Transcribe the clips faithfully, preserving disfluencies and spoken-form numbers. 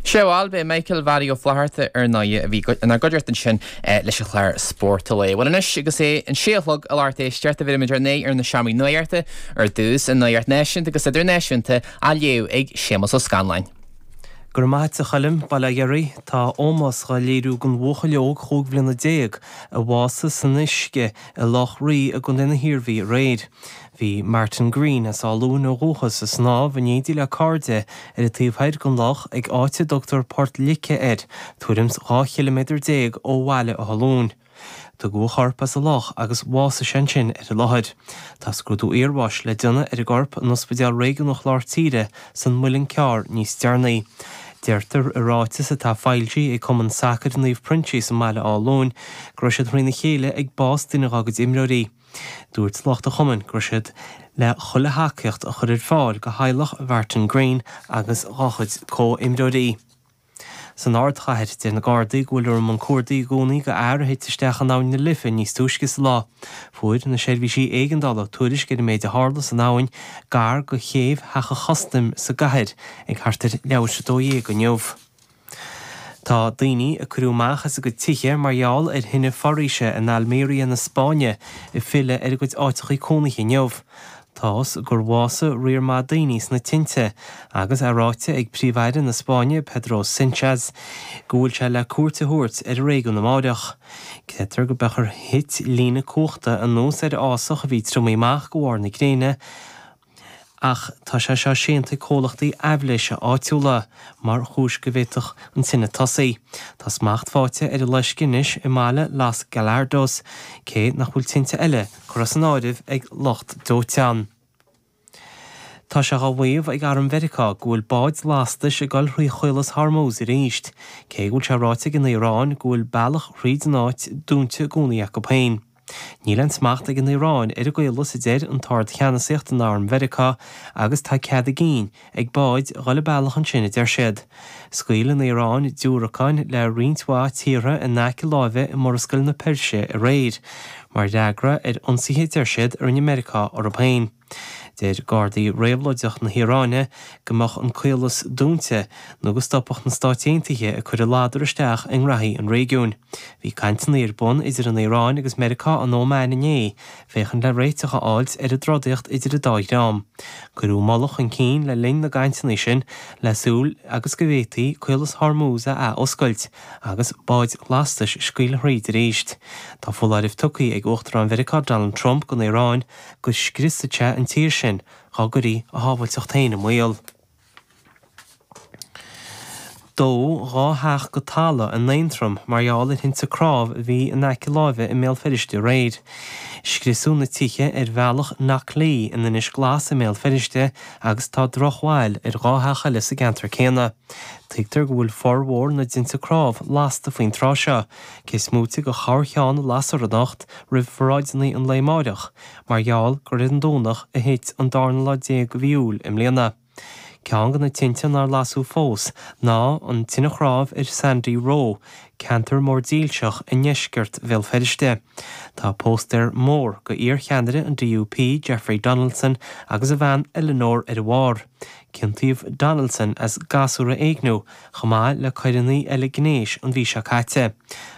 Sé bhuel b'é Michael Mhary Ó Flatharta ar ndóigh a bhí inár gcuideachta ansin leis an chlár Spórt an Lae. Bhuel anois agus é an sé a chlog a lucht éisteachta bheirfimid ár n-aghaidh ar na seomraí nuachta ar dtús an nuacht náisiúnta agus idirnáisiúnta á léamh ag Séamus Ó Scanláin. Go raibh maith agat a Choilm, Bail ó Dhia oraibh, tá ómós dhá léiriú don bhuachaill óg chúig bhliana déag a bhásaigh san uisce i Loch Rí i gContae na hIarmhí aréir. Bhí Martin Green as Áth Luain ó dhúchas ag snámh in éindí le cairde ar an taobh thoir den loch ag áit a dtugtar Port Lice air, tuairim dhá chiliméadar déag ó bhaile Átha Luain. Tugadh a chorp as an loch agus bhásaigh sé ansin ar an láthair. Tá scrúdú iarbháis le déanamh ar an gcorp in Ospidéal Réigiúnach Lár Tíre san Muileann Cearr níos deireanaí. Deirtear i ráiteas atá foilsithe ag Cumann Sacair Naomh Proinsias i mBaile Átha Luain go raibh siad thrína chéile ag bás duine dá gcuid imreoirí. Dúirt lucht an chumainn go raibh siad le chuile thacaíocht a chur ar fáil go theaghlach Mhartin Green agus dá chuid comhimreoirí. San ardchathair deir na Gardaí go bhfuil i mbun cuardaigh i gcónaí go fhear a thit isteach in abhainn na Life níos túisce sa lá. Fuair na seirbhísí éigeandála tuairisc ar an méid a tharla san abhainn gar go chéibh Theach an Chustaim sa gcathair ag thart ar leathuair dó dhéag inniu. Tá daoine a cuireadh amach as a gcuid tithe mar gheall ar thine foraoise in Almeria na Spáinne ag filleadh ar a gcuid áiteachaí cónaithe inniu. Tá's gur bhásaigh riar maith daoine sna tinte agus é ráite ag Príomh-Aire na Spáinne Pedro Sánchez go bhfuil sé le cuairt a thabhairt ar an réigiún amárach. Creidtear go mb'fhéidir gur thit líne cumhachta anuas ar fhásach a bhí triomaithe amach go bharr na gréine, ach tá sé seo séanta ag comhlachtaí aibhléise áitiúla mar chúis go bhféadfadh an tine tosaí. Tá smacht faighte ar an loisceadh anois i mbaile Los Gallardos, cé nach bhfuil tinte eile curtha san áireamh ag lucht dóiteáin. Tá sé á mhaíomh ag Arm Mheiriceá go bhfuil báid lastais ag dul thrí Chaolas Hormuz arís, cé go bhfuil sé ráite ag an Iaráin go bhfuil bealach thríd an áit dúnta i gcónaí acu féin. Níl aon smacht ag an Iaráin ar an gcaolas a deir an tArd-Cheannasaíocht in Arm Mheiriceá agus tá cead a gcinn ag báid dhul a bealach ansin a deir siad. Scaoil an Iaráin diúracáin le roinnt mhaith tíortha in aice láimhe i Murascaill na Peirse aréir, mar fhreagra ar ionsaithe deir siad a rinne Meiriceá orthu féin. Deir Gardaí Réabhlóideach na hIaráine go mbeadh an caolas dúnta nó go stopfadh na Stáit Aontaithe ag cur a ladar isteach i ngraithí an réigiúin. Bhí cainteanna ar bun idir an Iaráin agus Meiriceá in Óman inné, féachaint le réiteach a fháilt ar an dtrodaíocht idir an dá dhream. Cuireadh moladh chun cinn le linn na gcainteanna sin le súil agus go bhféadfaí caolas Hormuz a athoscailt agus báid lastais a scaoileadh thríd arís. Tá foláireamh tugtha ag Uachtarán Mheiriceá Donald Trump don Iaráin go scriosfaidh sé an tír sin dá gcuirfí a shábháilteacht féin i mbaol. Dódh dhá theach go talamh in Aontroim mar gheall ar thinte cnámh a bhí in aice láimhe i mBéal Feirste aréir. Scriosadh na tithe ar bhealach Knocklea in Inis Glas i mBéal Feirste agus tá drochbhail ar dhá theach eile sa gceantar céanna. Tuigtear go bhfuil formhór na dtinte cnámh lasta faoin tráth seo, cé is móite de chorrcheann a lasfar anocht roimh pharáideanna an lae amárach, mar gheall gur ar an Domhnach a thit an darna lá déag de mhí Iúil i mbliana. Ceann de na tinte nár lasadh fós ná an tine chnámh ar Sandy Row, ceantar mór dílseach i ndeisceart Bhéal Feirste. Tá póstaer mór go iarcheannaire an DUP Jeffrey Donaldson agus a bhean Eleanor ar a bharr. Ciontaíodh Donaldson as gasúr a éigniú chomh maith le coireanna eile gnéis an mhí seo caite.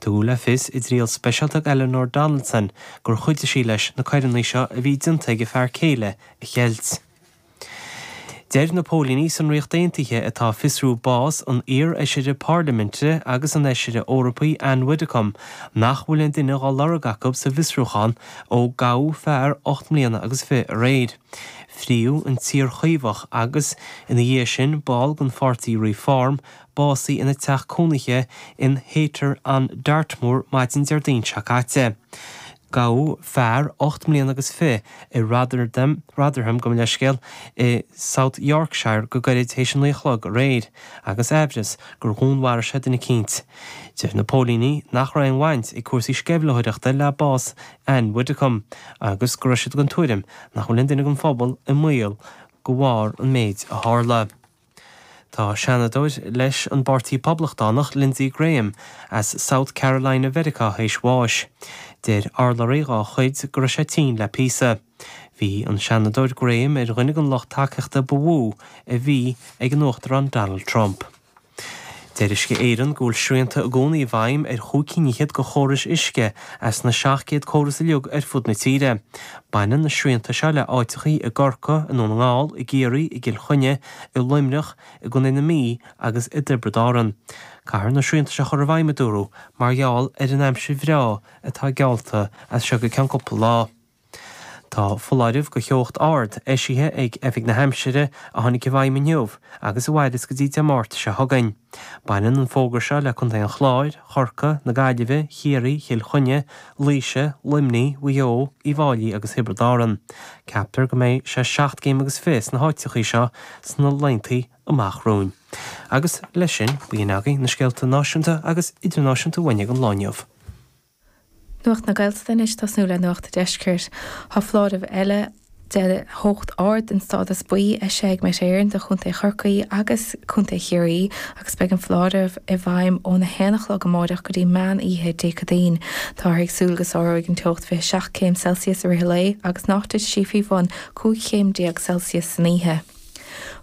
Tugadh le fios i dtriail speisialta Eleanor Donaldson gur chuidigh sí leis na coireanna seo a bhí déanta ag a fear céile a cheilt. Deir na póilíní san Ríocht Aontaithe atá ag fiosrú bás an iar-fheisire Parlaiminte agus an fheisire Eorpaí Ann Widdecombe nach bhfuil aon duine á lorg acu sa bhfiosrúchán ó gabhadh fear ocht mbliana agus fiche aréir. Fríodh an t-iar-Chaomhach agus ina dhiaidh sin ball den pháirtí Reform básaithe ina teach cónaithe in Haytor on Dartmoor maidin Déardaoin seo caite. Gabhadh fear ocht mbliana agus fiche i Rotherham Rotherham gabh mo leithscéal i South Yorkshire go gairid théis a naoi a chlog aréir agus aimhreas gur dhúnmharaigh sé duine eicínt. Deir na póilíní nach raibh aon bhaint ag cúrsaí sceimhlitheoireachta le bás Ann Widdecombe agus go raibh siad den tuairim nach bhfuil aon duine den phobal i mbaol de bharr an méid a tharla. Tá seanadóir leis an bPáirtí Poblachtánach Lindsey Graham as South Carolina Mheiriceá théis bháis. Deir urlabhraí dá chuid go raibh sé tinn le píosa. Bhí an seanadóir Graham ar dhuine den lucht tacaíochta ba mhó a bhí ag an uachtarán Donald Trump. Deir Uisce Éireann go bhfuil srianta i gcónaí i bhfeidhm ar chúig cinn fhichead de chórais uisce as na seacht gcéad córas uilig ar fud na tíre. Baineann na srianta seo le áiteachaí i gCorcaigh, i nDún na nGall, i gCiarraí, i gCill Chainnigh, i Luimneach, i gContae na Mí agus i dTiobraid Árann. Caithfear na srianta seo a chur i bhfeidhm, a dúradh, mar gheall ar an aimsir bhreá atá geallta as seo go ceann cúpla lá. Tá foláireamh do theocht ard eisithe ag Oifig na hAimsire a tháinig i bhfeidhm inniu agus a mhairfeas go dtí Dé Máirt seo chugainn. Baineann an fógra seo le Contae an Chláir, Chorcaí, na Gaillimhe, Chiarraí, Chill Chainnigh, Laoise, Luimnigh, Mhaigh Eo, Uíbh Fháilí agus Thiobraid Árann. Ceaptar go mbeidh sé seacht gcéim agus fiche sna háiteachaí seo sna laethanta amach romhainn. Agus leis sin, b'in agaibh na scéalta náisiúnta agus idirnáisiúnta uainn ag an lá inniu. Nuacht na Gaeltachta anois tosnú le Nuacht an Deiscirt. Tá foláireamh eile de theocht ard den stádas buí eisithe ag Met Éireann do Chontae Chorcaí agus Contae Chiarraí agus beidh an foláireamh i bhfeidhm óna haon a chlog amárach go dtí meán oíche Dé Céadaoin. Táthar ag súil go sáróidh an teocht fiche seacht céim Celsius i rith an lae agus nach dtitfidh sí faoi bhun cúig chéim déag Celsius san oíche.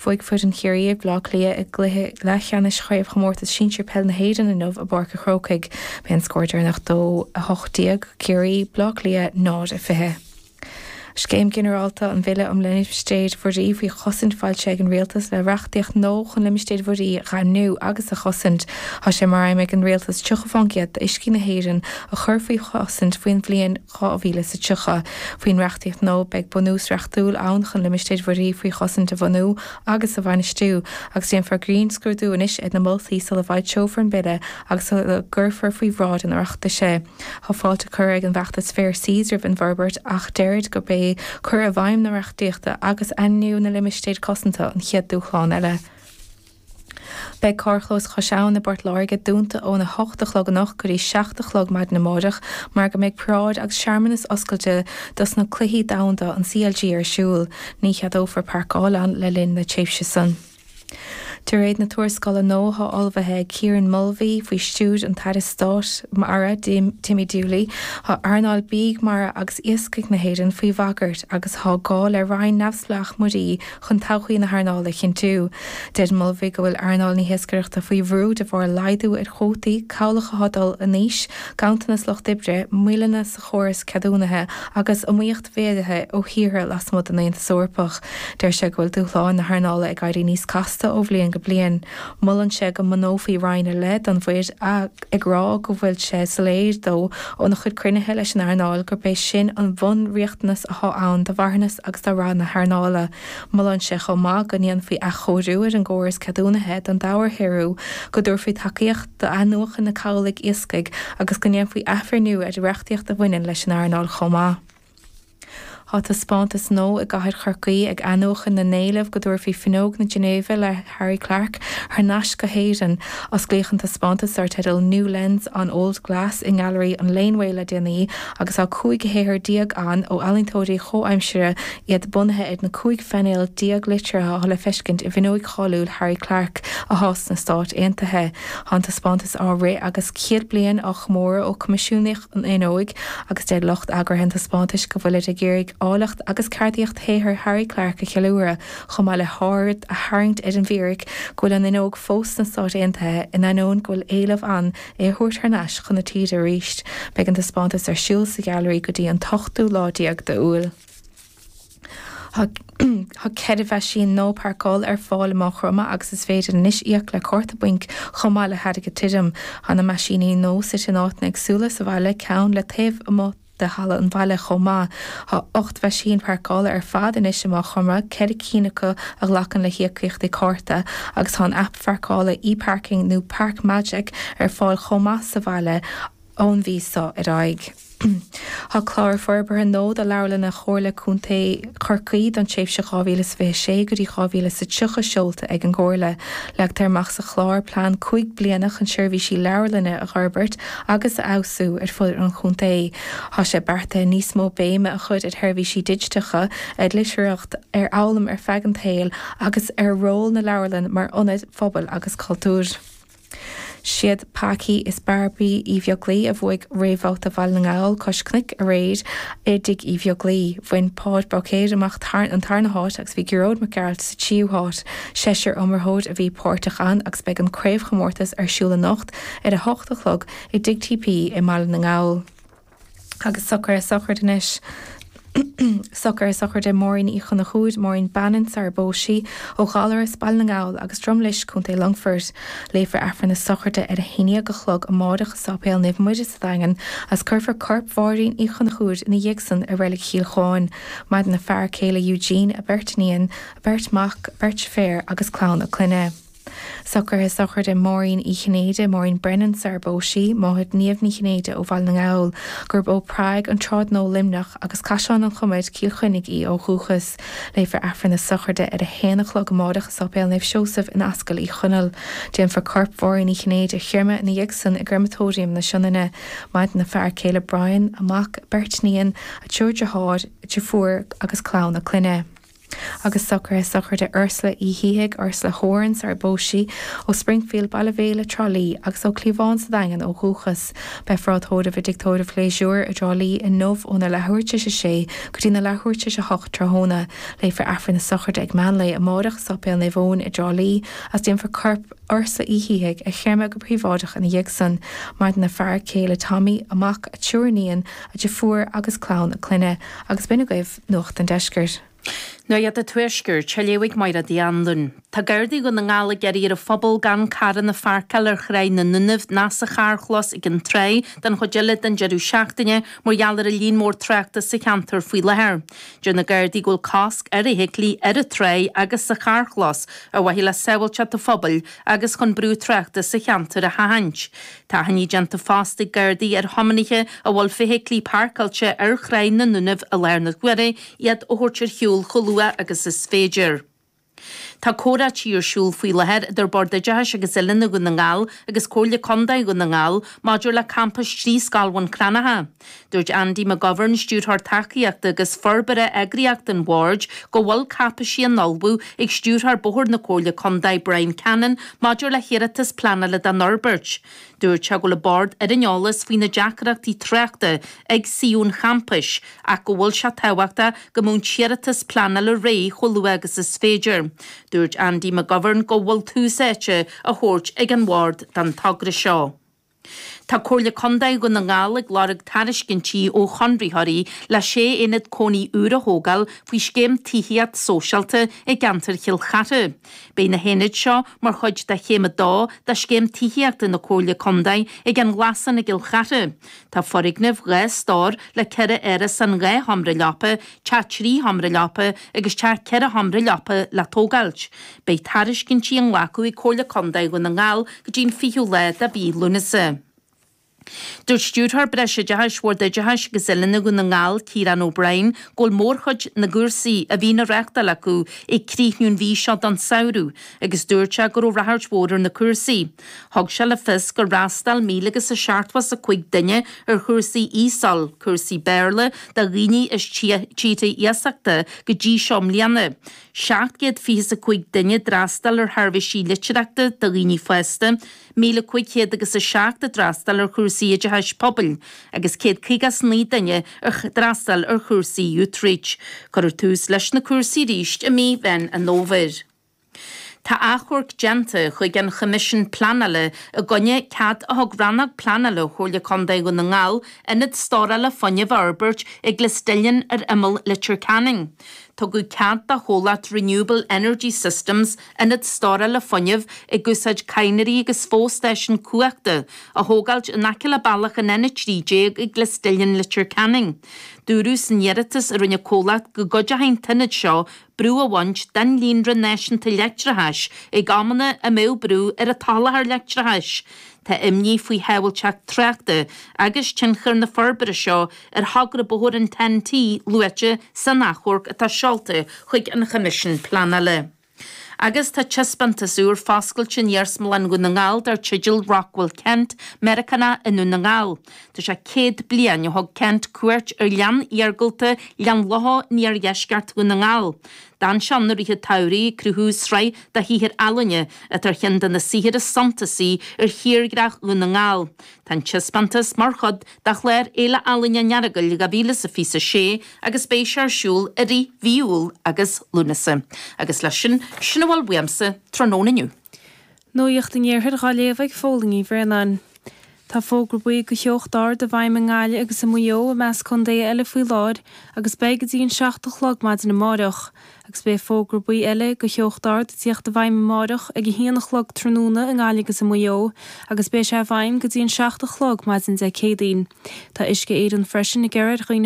Bhuaigh foireann Chiarraí ar Bhaile Átha Cliath i gcluiche leathcheannais Chraobhchomórtas Sinsir Peil na hÉireann inniu i bPáirc an Chrócaigh. B'é an scór deireanach dó a hocht déag Ciarraí, Baile Átha Cliath náid a fiche. Scéim Ghinearálta an Bhille um Limistéir Mhuirí faoi Chosaint foilsithe ag an Rialtas le reachtaíocht nua chun limistéir mhuirí a dhaingniú agus a chosaint. Tá sé mar aidhm ag an Rialtas tríocha faoin gcéad d'uiscí na hÉireann a chur faoi chosaint faoin bhliain dhá mhíle is tríocha. Faoin reachtaíocht nua, beidh bunús reachtúil ann chun limistéir mhuirí faoi chosaint a bhunú agus a bhainistiú, agus déanfar grinnscrúdú anois ar na moltaí sula bhfoilseofar an bille agus sula gcuirfear faoi bhráid an Oireachtais é. Tá fáilte curtha ag an bhfeachtas Fair Seas roimh an bhforbairt ach deirid gurb é cur i bhfeidhm na reachtaíochta agus ainmniú na limistéar cosanta an chéad dúshlán eile. Beidh carrchlós Chois Abhann i bPort Láirge dúnta óna hocht a chlog anocht go dtí seacht a chlog maidin amárach mar go mbeidh paráid agus searmanas oscailte dos na Cluichí Domhanda an C L G ar siúl. Ní cheadófar páirceáil ann le linn na tréimhse san. De réir na tuarascála nua atá ullmhaithe ag Kieran Mulvey faoi stiúir an tAire Stáit Mara Timmy Dooley, tá earnáil bídh mara agus iascaigh na hÉireann faoi bhagairt agus tá gá le roinn neamhspleách muirí chun todhchaí na hearnála a chinntiú. Deir Mulvey go bhfuil earnáil na hiascaireachta faoi bhrú de bharr laghdú ar chuótaí, cabhlach atá ag dul in aois, ganntanas lucht oibre, moilleanna sa chóras ceadúnaithe agus iomaíocht mhéadaithe ó thíortha lasmuigh den Aontas Eorpach. Deir sé go bhfuil dúshláin na hearnála ag éirí níos casta ó bhliain go bliain. Molann sé go mbunófaí roinn ar leith don mhuir ag rá go bhfuil sé soiléir dó óna chuid cruinnithe leis an earnáil gurb é sin an bhunriachtanas atá ann do mharthanas agus do rath na hearnála. Molann sé chomh maith go ndéanfaí athchóiriú ar an gcóras ceadúnaithe don dobharshaothrú, go dtabharfaí tacaíocht d'athnuachan na cabhlaigh iascaigh agus go ndéanfaí athbhreithniú ar reachtaíocht a bhaineann leis an earnáil chomh maith. Tá taispeántas nua i gcathair Chorcaí ag athnuachan na n-éileamh go dtabharfaí Fuinneog na Ginéive le Harry Clarke thar n-ais go hÉirinn. Osclaíodh an taispeántas dar teideal New Lens on Old Glass i nGailearaí an Laneway le déanaí agus tá cúig shaothar déag ann ó ealaíontóirí comhaimseartha iad bunaithe ar na cúig phainéal déag liteartha atá le feiscint i bhfuinneog cháiliúil Harry Clarke atá sna Stáit Aontaithe. Tá an taispeántas á rith agus céad bliain á chomóradh ó coimisiúnaíodh an fhuinneog agus deir lucht eagraithe an taispeántais go bhfuilid ag iarraidh áilleacht agus ceardaíocht shaothar Harry Clarke a cheiliúradh chomh maith le haird a tharraingt ar an bhfíric go bhfuil an fhuinneog fós sna Stáit Aontaithe in ainneoin go bhfuil éileamh ann é a thabhairt thar n-ais chun na tíre arís. Beidh an taispeántas ar siúl sa ghailearaí go dtí an t-ochtú lá déag d'Iúil. Tá ceithre mheaisín nua páirceála ar fáil i Maigh Chromtha agus is féidir anois íoc le cárta bainc chomh maith le hairgead tirim. Tá na meaisíní nua suite in áiteanna éagsúla sa bhaile, ceann le taobh amuigh de halla an bhaile chomh maith. Tá ocht mheaisín páirceála ar fad anois i Maigh Chromtha, ceithre cinn acu a ghlacann le híocaíochtaí cárta agus tá an aip pháirceála eParking nó Park Magic ar fáil chomh maith sa bhaile ón mhí seo ar aghaidh. Tá clár forbartha nua do leabharlanna Chomhairle Contae Chorcaí don tréimhse dhá mhíle is fiche sé go dtí dhá mhíle is tríocha seolta ag an gComhairle. Leagtar amach sa chlár plean cúig bliana chun seirbhísí leabharlainne a fhorbairt agus a fheabhsú ar fud an chontae. Tá sé beartaithe níos mó béime a chur ar sheirbhísí digiteacha, ar litearthacht, ar fhoghlaim ar feadh an tsaoil agus ar ról na leabharlann mar ionaid phobail agus cultúir. Siad Packy is Barbie Uí Bheaglaoi a bhuaigh réamhbhabhta Bhaile na nGall cois cnoic aréir i dTigh Uí Bheaglaoi. Bhain Páid Bairéad amach an tarna háit agus bhí Gearóid Mac Gearailt sa tríú háit. Seisear iomaitheoir a bhí páirteach ann agus beidh an craobhchomórtas ar siúl anocht ar a hocht a chlog i dTigh TP i mBaile na nGall. Agus socruithe sochraide anois. Socruithe sochraide Máirín Uí Chonchúir, Máirín Bannon sar ar phós sí, ó Ghallaras, Baile na nGall agus Drumlish, Contae Longfoirt. Léifear Aifreann na sochraide ar a haon déag a chlog amárach i Sáipéal Naomh Muire sa Daingean agus cuirfear corp Mháirín Uí Chonchúir ina dhiaidh san i Reilig Chill Chuáin. Maireann a fear céile Eugene, a beirt iníon, a beirt mac, beirt deirféar agus clann a clainne. Socruithe sochraide Máirín Uí Chinnéide, Maureen Brennan sar ar phós sí, máthair Niamh Ní Chinnéide ó Bhaile na nGall, gurb ó Prág an Trádnó Luimneach agus Caisleán an Chomair, Cill Chainnigh í ó dhúchas. Léifear Aifreann na sochraide ar a haon a chlog amárach i Sáipéal Naomh Seosamh in Ascaill Uí Chonaill. Déanfar corp Mháirín Uí Chinnéide a chreimeadh ina dhiaidh san i gCreamatóiriam na Sionainne. Maireann a fear céile Brian, a mac, beirt iníon, a triúr deartháir, deirfiúr agus clann a clainne. Agus socruithe sochraide Ursula Uí Shíthigh, Ursula Horan sar ar phós sí, ó Springfield, Baile Bhéile, Trá Lí, agus ó Cliabhán sa Daingean ó dhúchas. Beifear á tórramh i dTigh Tórraimh Phléisiúir i dTrá Lí inniu óna leathuair tar éis a sé go dtí na leathuair tar éis a hocht tráthnóna. Léifear Aifreann na sochraide ag meánlae amárach i Sáipéal Naomh Eoin i dTrá Lí agus déanfar corp Ursula Uí Shíthigh a chreimeadh go príobháideach ina dhiaidh san. Maireann a fear céile Tommy, a mac, a triúr iníon, a deirfiúr agus clann a clainne. Agus b'in agaibh Nuacht an Deiscirt. Nuacht an Tuaiscirt, á léamh ag Máire Uí Anluain. Tá Gardaí Dhún na nGall ag iarraidh ar an phobal gan carranna a pháirceáil ar Thráigh na nDúnaibh ná sa charrchlós ag an trá don chuid eile den deireadh seachtaine mar gheall ar an líon mór tráchta sa cheantar faoi láthair. Deir na Gardaí go bhfuil cosc ar fheithiclí ar an trá agus sa charrchlós ar mhaithe le sábháilteacht an phobail agus chun brú tráchta sa cheantar a sheachaint. Tá achainí déanta fosta ag Gardaí ar thiománaithe a bhfuil feithiclí páirceáilte ar Thráigh na nDúnaibh i láthair na huaire iad a thabhairt ar shiúl chomh luath agus is féidir. Tá comhráití ar siúl faoi láthair idir Bord Oideachais agus Oiliúna Dhún na nGall agus Comhairle Contae Dhún na nGall maidir le campas trí scoil Bhun Cranncha. Dúirt Andy McGovern, stiúrthóir tacaíochta agus forbartha eagraíocht an bhoird, go bhfuil cáipeisí á n-ullmhú ag stiúrthóir bóthair na Comhairle Contae Brian Cannon maidir le hiarratas pleanála don fhorbairt. Dúirt sé go bhfuil an bord ar an eolas faoi na deacrachtaí tráchta ag suíomh an champais ach go bhfuil sé tábhachtach go mbeadh an t-iarratas pleanála réidh chomh luath agus is féidir. Dúirt Andy McGovern go bhfuil tús áite á thabhairt ag an bhord don togra seo. Tá Comhairle Contae Dhún na nGall ag lorg tairiscintí ó chonraitheoirí le sé aonad cónaí úr a thógáil faoi scéim tithíocht sóisialta i gceantar Chill Chartha. Beidh na haonaid seo mar chuid de chéim a dó de scéim tithíochta na Comhairle Contae ag an nGlasán i gCill Chartha. Tá foirgneamh dhá stór le ceithre árasán dhá sheomra leapa, teach trí sheomra leapa agus teach ceithre sheomra leapa le tógáilt. Beidh tairiscintí á nglacadh ag Comhairle Contae Dhún na nGall go dtí an fichiú lá de mhí Lúnasa. Dúirt Stiúrthóir Breisoideachais Bhord Oideachais agus Oiliúna Dhún na nGall, Ciarán O'Brien, go bhfuil mórchuid na gcúrsaí a bhíonn á reáchtáil acu ag críochnú an mhí seo don samhradh agus dúirt sé go raibh ráchairt mhór ar na cúrsaí. Thug sé le fios gur fhreastail míle agus a seachtó is a cúig duine ar chúrsaí ESOL, cúrsaí Béarla do dhaoine as tíortha iasachta, go dtí seo i mbliana. seacht gcéad fiche is a cúig duine a d'fhreastail ar sheirbhísí litearthachta do dhaoine fásta, míle cúig chéad agus a seacht a d'fhreastail ar chúrsaí oideachais pobail agus céad caoga is naoi duine a d'fhreastail ar chúrsaí Youthreach. Cuirfear tús leis na cúrsaí arís i mí Mheán an Fhómhair. Tá achomharc déanta chuig an Choimisiún Pleanála i gcoinne cead a thug Rannóg Pleanála Chomhairle Contae Dhún na nGall ionad stórála fuinnimh a fhorbairt i gClisdillin ar imeall Leitir Ceanainn. Tugadh cead do chomhlacht Renewable Energy Systems ionad stórála fuinnimh ag úsáid cadhnraí agus fo-stáisiún cumhachta a thógáilt in aice le bealach an N a trí déag i gClisdillin, Leitir Ceanainn. Dúradh san iarratas a rinne an comhlacht go gcuideoidh an t-ionad seo brú a bhaint den líonra náisiúnta leictreachais ag amanna a mbeadh brú ar an tsoláthar leictreachais. Tá imní faoi shábháilteacht tráchta agus tionchar na forbartha seo ar thogra bóthair an Ten-T luaite san achomharc atá seolta chuig an Choimisiún Pleanála. Agus tá taispeántas úr foscailte in Iarsmalann Dhún na nGall dar teideal Rockwell Kent, Meiriceánach i nDún na nGall. Tá sé céad bliain ó thug Kent cuairt ar ghleann iargúlta Ghleann Locha in iardheisceart Dhún na nGall. D'fhan sé ann i rith an tsamhraidh ag cruthú sraith de shaothair ealaíne atá ar cheann de na saothair is suntasaí ar thírdhreach Dhún na nGall. Tá an taispeántas mar chuid de chlár Fhéile Ealaíne an Earagail dhá mhíle is a fiche a sé agus beidh sé ar siúl i rith mhí Iúil agus Lúnasa. Agus leis sin, sin a bhfuil uaimse tráthnóna inniu. Nuacht an Iarthair á léamh ag Fódhla Ní Bhraonáin. Tá fógra buí do theocht ard i bhfeidhm i nGaillimh agus i Maigh Eo i measc contaetha eile faoi láthair agus beidh go dtí an seacht a chlog maidin amárach, agus beidh fógra buí eile do theocht ard ag tíocht i bhfeidhm amárach ag a haon a chlog tráthnóna i nGaillimh agus i Maigh Eo agus beidh sé i bhfeidhm go dtí an seacht a chlog maidin Dé Céadaoin. Tá Uisce Éireann freisin ag iarraidh ar dhaoine